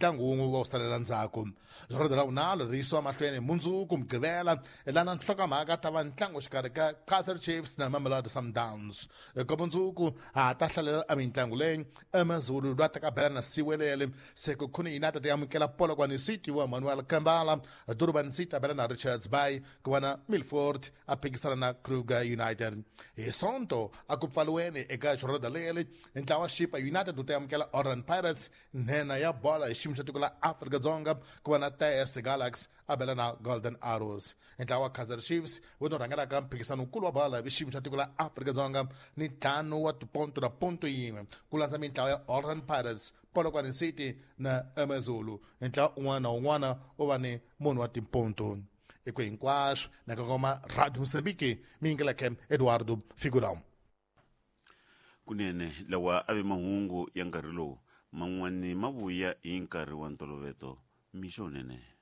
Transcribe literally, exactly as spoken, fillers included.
Ntlangu wun'we wa wu salela ndzhaku. Rhodo ra vunharhu ri yisiwa mahlweni mundzuku Mugqivela, lana nhlokomhaka ta va ntlangu xikarhi ka Kaizer Chiefs na Mamelodi Sundowns. Eka mundzuku ha ta hlalela a mitlangu leyi: AmaZulu lwa ta bela na Siwelele, Sekhukhune United ya amukela Polokwane City wa Manuel Kambala, Durban City a bela na Richards Bay, ku va na Milford a phikisana na Kruger United. Hi Sonto a ku pfaliweni eka xirhoda leri, ntlawa Chippa United wu ta amukela Orlando Pirates, nhenha ya bola hi xiyimo xa tiko la Afrika-Dzonga, ku va na T S Galaxy a bela na Golden Arrows. Ntlawa wa Kaizer Chiefs wu to rhangelaka mphikisano wukulu wa bola hi xiyimo xa tiko la Afrika-Dzonga ni ntlhanu wa tiponto na ponto yin'we, ku landza mintlawa ya Orlando Pirates, Polokwane City na AmaZulu. Ntlawa un'wana na un'wana u va ni munhu wa timponto. I ku hinkwaswo na kongoma Radio Mozambique, mi yingeleke Eduardo Figurão. Kunene lawa a ve mahungu ya nkarhi lowu, man'wani ma vuya hi nkarhi wa ntolovelo. Mixo nene.